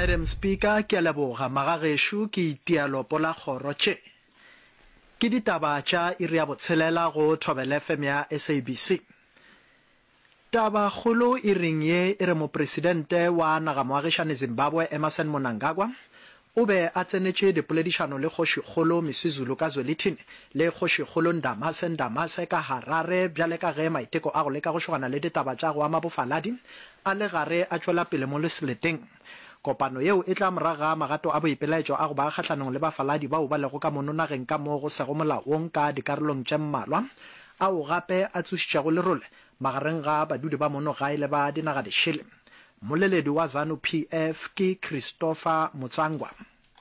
Madam Speaker, ke a leboga. Magagešo, ke itia lopo la kgoro. Tše ke ditaba tša iri ya botshelela go Thobela FM ya SABC. Tabakgolo iring ye e re Mopresidente wa nagamoagišane Zimbabwe Emmerson Mnangagwa o be a tsenetše dipoledišano le Kgošikgolo Misizulu ka Zwelithini le Kgošikgolo Ndamase Ndamase ka Harare bjale ka ge maiteko a go leka go šogana le ditaba tša go ama bofaladi a le gare a tšwela pele mo seleteng. Kopano yeo e tla morago ga magato a boipelaetšo a go ba kgahlanong le bafaladi bao ba lego ka mono nageng ka mo go sego molaong ka dikarolong tše mmalwa ao gape a tsošitšego lerole magareng ga badudi ba mono gae le ba dinaga dišele. Mmoleledi wa Zanu PF ke Christopher Mutsvangwa.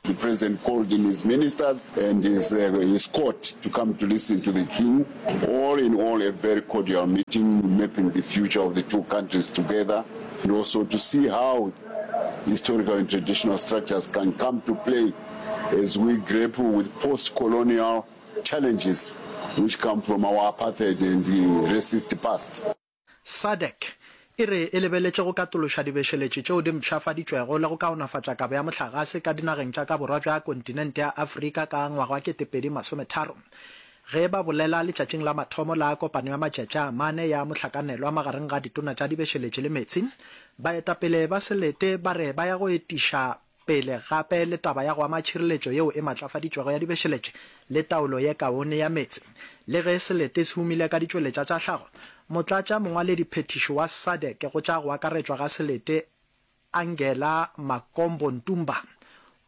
The president called in his ministers and his, uh, his court to come to listen to the king. All in all, a very cordial meeting, mapping the future of the two countries together, and also to see how historical and traditional structures can come to play as we grapple with post-colonial challenges which come from our apartheid and racist past. SADC e re e lebeletše go katološa dibešeletši tšeo di mpshafaditšwego le go kaonafatša kabo ya mohlagase ka dinageng tša ka borwa bja kontinente ya Afrika ka ngwaga wa 2030. Ge ba bolela letšatšing la mathomo la kopano ya matšatši a mane ya mohlakanelwa magareng ga ditona tša dibešeletši le meetse, baetapele ba selete ba re ba ya go etiša pele gape le taba ya go ama tšhireletšo yeo e matlafaditšwego ya dibešeletše le taolo ye kaone ya meetse. Le ge selete se humile ka ditšweletša tša hlago, motlatša mongwalediphethiši wa SADC go tša go akaretšwa ga selete Angela Makombo Ntumba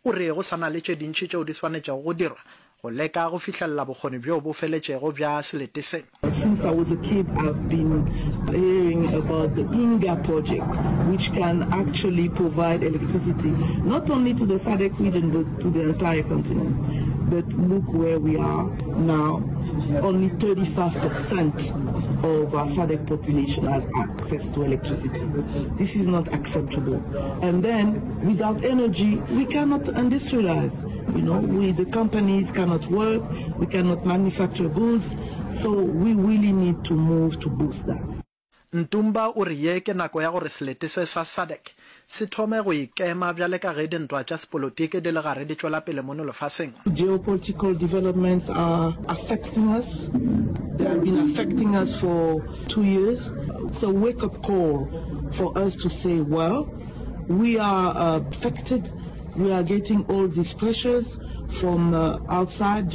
o re go sa na le tše dintši tšeo di swanetšego go dirwa go leka go fihlelela bokgoni bjo bo feletšego bja selete se. Since I was a kid I've been hearing about the Inga project which can actually provide electricity not only to the SADC region but to the entire continent. But look where we are now, only 35% of our SADC population has access to electricity. This is not acceptable. And then without energy we cannot industrialize. You know, we, the companies cannot work, we cannot manufacture goods, so we really need to move to boost that. Ntumba o re ye ke nako ya gore selete se sa SADC se thome go ikema bjale ka ge dintwa tša sepolotiki di le gare di tšwela pele mono lefaseng. Geopolitical developments are affecting us, they have been affecting us for two years. It's a wake up call for us to say, well, we are affected We are getting all these pressures from uh, outside,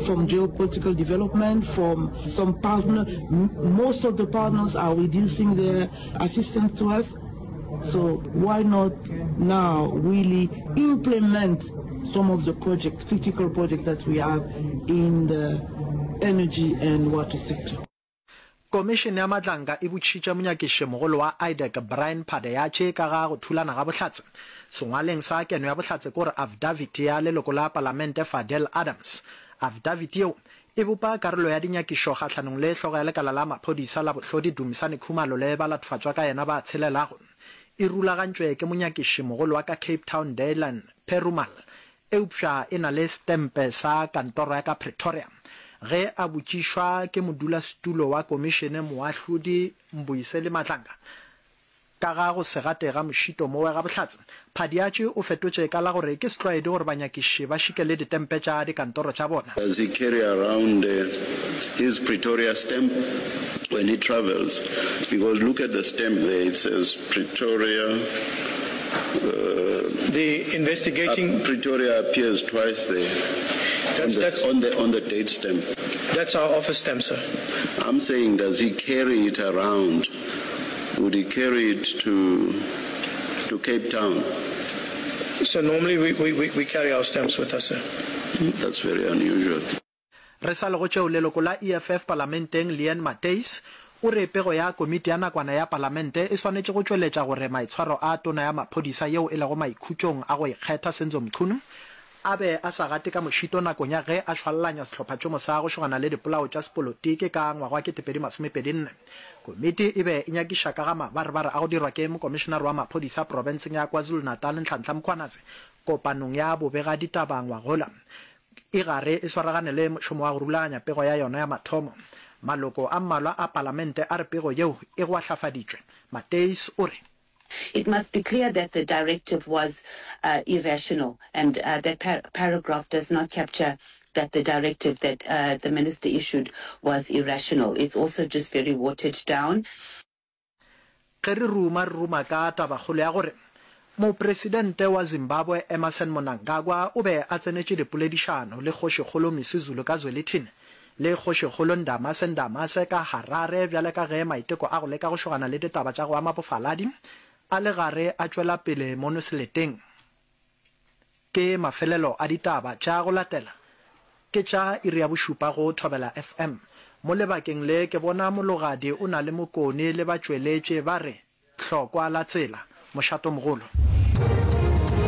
from geopolitical development, from some partner. Most of the partners are reducing their assistance to us. So why not now really implement some of the projects, critical projects that we have in the energy and water sector. Komišene ya Matlanka e botšišitše monyakišimogolo wa IDAC Brian Padayachy ka ga go thulana ga bohlatse. Sengwaleng sa keno ya bohlatse ke gore afidaviti ya leloko la palamente Fadel Adams. Afidaviti yeo e bopa karolo ya dinyakišo kgahlanong le hlogo ya lekala la maphodisa la bohlodi Dumisani Khumalo le balatofhatšwa ka yena ba tshelelago. E rulagantšwe ke monyakišimogolo wa ka Cape Town Daylan Perumal eupša e na le setempe sa kantoro ya ka Pretoria. Ge a botšišwa ke modulasetulo wa komišene Moahlodi Mbuyiseli Madlanga ka ga go se gate ga mošito mowe ga bohlatse, Phadiatši o fetotše ka la gore ke setlwaedi gore banyakiši ba šikele ditempe tša dikantoro tša bona. Does he carry around his Pretoria stamp when he travels? Because look at the stamp there, it says Pretoria. The investigating. Pretoria appears twice there. That's, on the, that's, on the, on the date stamp. That's our office stamp, sir. I'm saying, does he carry it around? Would he carry it to, to Cape Town? So normally we, we, we, we carry our stamps with us, sir. That's very unusual. Re sa le go tšeo, leloko la EFF palamenteng Leanne Matthys o re pego ya komiti ya nakwana ya palamente e swanetše go tšweletša gore maitshwaro a tona ya maphodisa yeo e lego maikhutšong a go ikgetha Senzo Mchunu a be a sa gate ka mošito nakong ya ge a šwallanya sehlophatšomo sa go šogana le dipolao tša sepolotiki ka ngwaga wa 2024. Komiti e be e nyakiša ka ga mabarebare a go dirwa ke mokomišenare wa maphodisa profenseng ya KwaZulu-Natal Nhlanhla Mkhwanazi kopanong ya bobegaditaba ngwagola. E gare e swaragane le mošomo wa go rulaganya pego ya yona ya mathomo. Maloko a mmalwa a Palamente a re pego yeo e gwahlafaditšwe. Matthys o re. It must be clear that the directive was uh, irrational and uh, that par paragraph does not capture that the directive that uh, the minister issued was irrational. It's also just very watered down. Ge re ruma re ruma ka tabakgolo ya gore Mopresidente wa Zimbabwe Emmerson Mnangagwa o be a tsenetše dipoledišano le Kgošikgolo Misuzulu ka Zwelithini le Kgošikgolo Ndamase Ndamase ka Harare bjale ka ge maiteko a go leka go šogana le ditaba tša go ama bofaladi a le gare a tšwela pele mono seleteng. Ke mafelelo a ditaba tša go latela ke tša iri ya bošupa go Thobela FM. Mo lebakeng le ke bona Mologadi o na le Mokone le batšweletše ba re hlokwa la tsela. Mošatomogolo.